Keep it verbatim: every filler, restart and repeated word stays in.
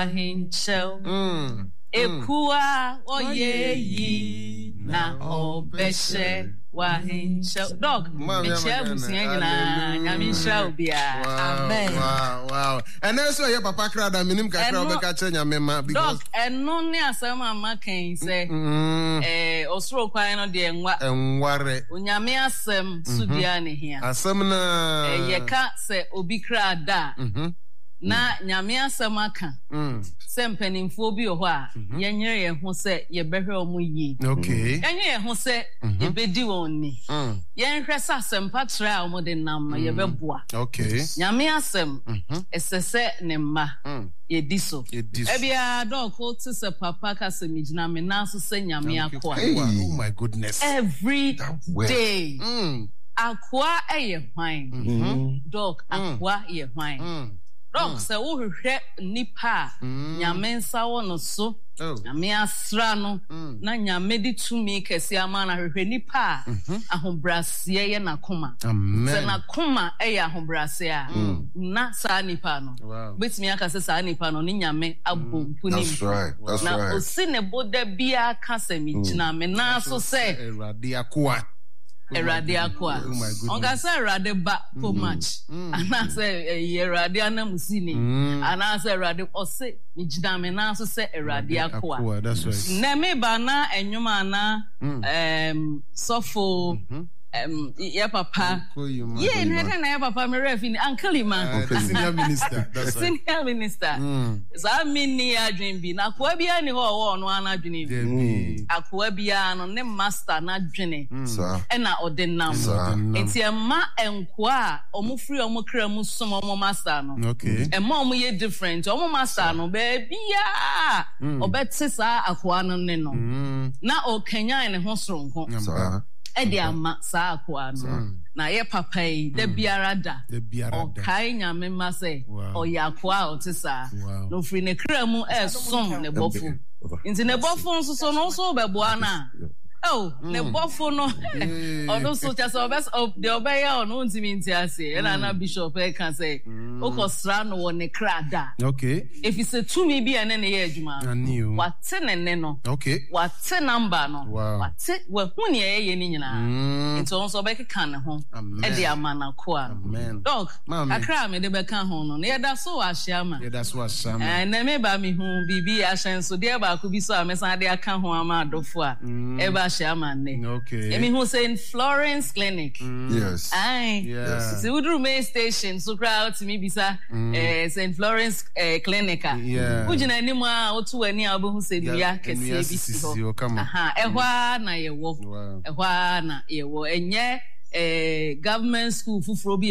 W'ahenkyɛw. Mm. Ekua ɔyɛ yi na ɔbɛhyɛ w'ahenkyɛw. Doc, mekyia abusua nyinaa. Nyame nhyira obiara. Amen. Wow, wow. Ɛnɛ nso ɛyɛ papa kra da menim kakra wobɛka kyerɛ Nyame ma because Doc, ɛno ne asɛm a maka yi sɛ eh, ɔsoro kwan no deɛ nwa. Ɛnware. Onyame asɛm so dua ne hia. Asɛm na. Yɛka sɛ obi kra da a, na Nyame asɛm aka sɛ mpanimfoɔ bi wɔ hɔ a yɛnyere yɛn ho sɛ yɛbɛhwɛ wɔn yie. Yɛnyere yɛn ho sɛ yɛbɛdi wɔn ni. Yɛnhwɛ sɛ asɛmpa trɛ a wɔde nam no yɛbɛboa. Nyame asɛm ɛsɛ sɛ ne mma yɛdi so. Ebia dɔɔko te sɛ papa ka sɛ megyina me nan so sɛ Nyame akoa. Oh my goodness. Every day. Akoa yɛ hwan? Dɔk, akoa yɛ hwan? Dɔk, sɛ wohwehwɛ nipa a Nyame nsa wɔ no so, Nyame asra no, na Nyame de tumi kɛse ama no, ahwehwɛ nipa a ahobrɛaseɛ yɛ n'akoma. Sɛ n'akoma yɛ ahobrɛaseɛ a, na saa nipa no, wobɛtumi aka sɛ saa nipa no ne Nyame abɔ mpu ne mpu. Na osi ne bo da biara ka sɛ, megyina me nan so sɛ Awurade akoa. Awurade akoa. Ɔnka sɛ Awurade ba po much anaasɛ ɛyɛ Awurade ananmusini anaasɛ Awurade, ɔse megyina me nan so sɛ Awurade akoa. Nnɛ meba na ɛnwom a na sɔfo yɛ papa yie na ɛdɛn na yɛ papa me werɛ fi ne Uncle Ima. Senior minister. Senior minister. Saa menni adwene bi na akoa biara ni hɔ a ɔwɔ ɔno ara n'adwene mu. Akoa biara no ne master n'adwene ɛna ɔde nam. Nti ɛmma nkoa a wɔn firi wɔn kra mu som wɔn master no, ɛmma wɔn yɛ different. Wɔn master no baabiara ɔbɛte saa akoa no ne no na ɔkanyan ne ho soronko ɛde ama saa akoa no. Na yɛ papa yi da biara da ɔkae Nyame mma sɛ ɔyɛ akoa a ɔte saa na ofiri ne kra mu ɛresom ne bɔfo. Nti ne bɔfo nso so no nso wobɛboa no a, oh, ne bɔfo no ɔno nso kyɛ sɛ ɔbɛ deɛ ɔbɛyɛ ɔno wontumi nte aseɛ. Ɛna na bishop ɛka sɛ wokɔsra no wɔ ne kra da. Ɛfiri sɛ tumi bi a ɛne ne yɛ adwuma no, wate ne nne no, wate namba no, wate, wahu nea ɛyɛ no nyinaa. Nti ɔno nso ɔbɛkeka ne ho de ama n'akoa no. Doc, kakra a mede bɛka ho no, na yɛda so wɔ Ahyiama. Ɛnnɛ meba mehu biribi ahyɛnsodeɛ baako bi so a mɛsan de aka ho ama adɔfo a ɛba Ahyiama nnɛ. Mehu Saint Florence Clinic. Yes. Ae. Yes. Nti woduru main station so koraa wotumi bisa eh, Saint Florence eh, Clinic a. Wogyina anim a woto w'ani a wobɛhu sɛ nnua kɛseɛ bi si hɔ. Aha, ɛhɔ ara na yɛwɔ. Ɛhɔ ara na yɛwɔ. Ɛnyɛ eh, government school foforɔ bi